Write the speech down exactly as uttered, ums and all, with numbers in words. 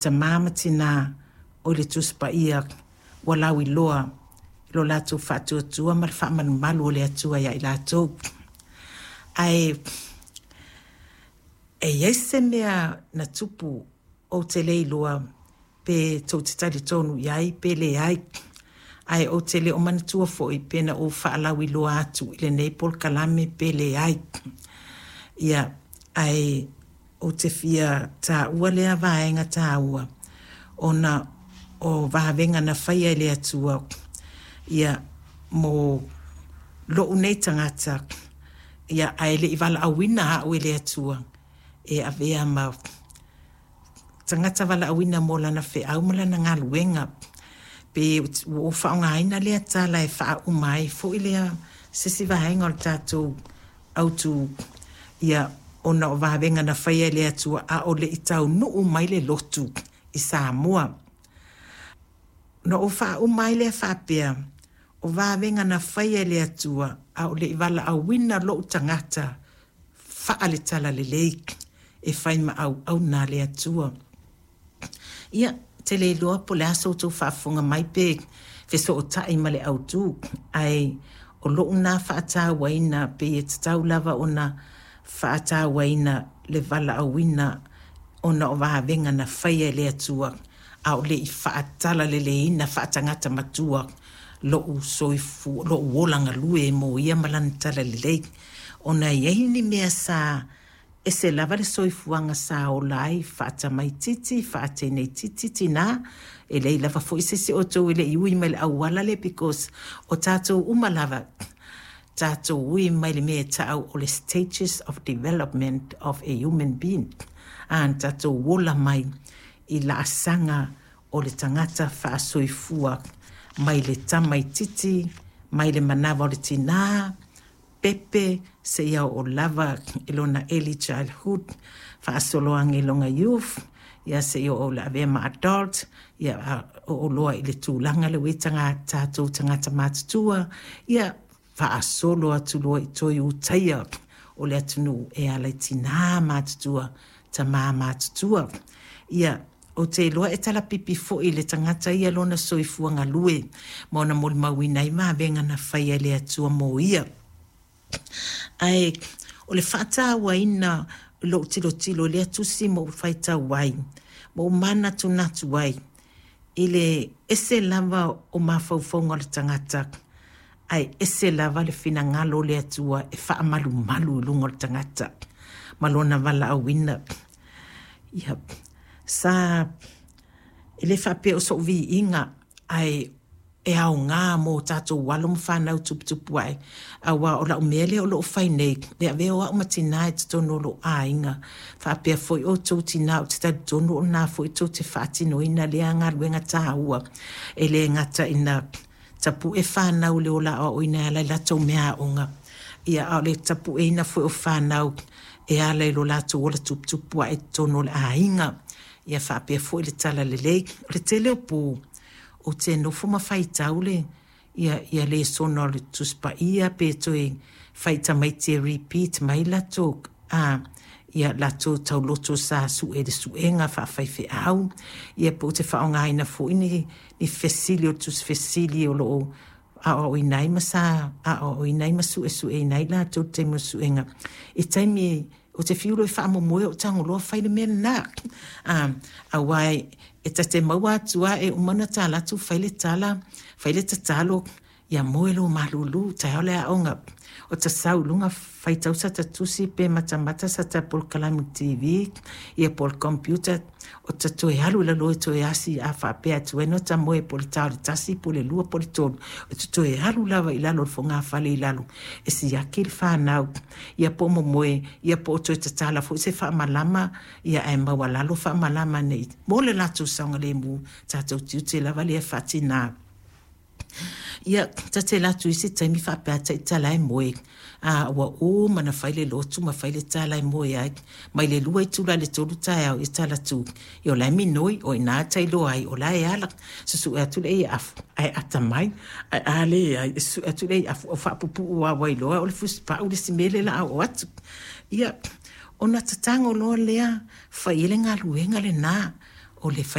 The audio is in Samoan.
Tamā ma tinā o le Tusi Paia ua lauiloa i lo latou faatuatua ma le faamalumalu o le Atua ia i latou. Ae e i ai se mea na tupu ou te le iloa pe tou te talitonu i ai pe leai, ae ou te le o manatua foi pe na ou faalauiloa atu i lenei polokalame pe leai. Ia, ae ou te fia taua lea vaega taua ona o vavega na faia e le Atua ia mo lou nei tagata, ia ae le i valaauina au e le Atua e avea ma tagata valaauina mo lana feau ma lana galuega. Pe ua ou faaaogaina lea tala e faauma ai foi lea se isi vaega o le tatou autu, ia ona o vavega na faia e le Atua a o le i taunuu mai le lotu i Samoa. Na ou faauma ai lea faapea, o vavega na faia e le Atua a o le i valaauina lou tagata faale-talalelei e fai ma auauna a le Atua. Ia, te le iloa po o le a sa outou faafofoga mai pe fesootai ma le autu, ae o lou na faatauaina pei e tatau lava ona faatauaina le valaauina ona o vavega na faia e le Atua a o le i faatalaleleina faatagata matua lou soifua, lou ola galue mo ia ma lana talalelei. Ona e i ai ni mea sa ese lava le soifuaga sa ola ai faatamaitiiti, faateneitiiti tinā, e leai lava foi se isi o outou e le i ui mai le auala lea, because o tatou uma lava, tatou ui mai le mea e ta'au o le stages of development of a human being. A na tatou ola mai i laasaga o le tagata faasoifua mai le tamaitiiti, mai le manava o le tinā, pepe, seia oo lava i lona early childhood, faasoloagi i lona youth, ia seia oo i le avea ma adult, ia oo loa i le tulaga lea ua i ai tatou tagata matutua, ia faasolo atu loa i toe utaia o le atunuu e ala i tinā matutua, tamā matutua. Ia, ou te iloa e talapipi foi i le tagata ia lona soifua galue ma ona molimauina ai vavega na faia e le Atua mo ia. Ae o le faatauaina i lou tilotilo i lea tusi ma ou faitau ai, ma ou manatunatu ai i le ese lava o mafaufauga o le tagata, ae ese lava le finagalo o le Atua e faamalumalu i luga o le tagata ma lona valaauina. Ia, sa e le faapea o sou viiga, ae e aoga mo tatou alo ma fanau tuputupu ae, aua o lau mea lea o loo fai nei, le avea o au ma tinā i totonu o lou aiga, faapea foi outou tinā, ou te talitonu o lena foi tou te faatinoina lea galuega taua, e le gata ina tapu'e fanau i le ola aoaoina e ala i latou meaaoga, ia a o le tapu'eina foi o fanau e ala i lo latou ola tuputupu ae i totonu o le aiga, ia faapea foi le talalelei. O le tele o pō ou te nofo ma faitau le ia, ia lesona o le Tusi Paia pe toe fai tamaiti e repeat mai latou a ia latou tauloto sa su'e i le suega faafaifeau, ia pe ou te faaaogaina foi ni, ni fesili o le tusi fesili o loo aoaoina ai ma sa aoaoina ai ma suesueina ai latou i le taimi o suega i taimi ou te fiu loa e faamomoe ou tago loa fai le mea lena. A aua e ta te maua atu a e uma ona tala atu fai le tala, fai le tatalo, ia moe lo malulu, taeao le aoga, o ta sau i luga faitau sa ta tusi pe matamata sa ta polokalame T V ia po o le computer, o ta toe alu i lalo e toe asi a faapea atu ai no ta moe po o le ta o le tasi po o le lua po o le tolu, o te toe alu lava i lalo o le fogafale i lalo e siaki le fanau, ia po o momoe, ia po o toe tatala foi se faamalama, ia ae maualalo faamalama nei mo le latou saogalemu, tatou tiute lava lea faatinā. Ia ta te alu atu i isi taimi faapea taitala e moe, a ua uma na fai le lotu ma fai le tala e moe ai mai le lua itula i le tolu taeao, ia tala atu ia o la e minoi o ina tailoa ai o la e ala susu'e atu le ia afu ae atamai, ae a leai e susu'e atu le ia afu o faapupuu aua iloa o le fusipa'u le isi mea lea la oo atu. Ia ona tatago loa lea fai ai le galuega lenā O le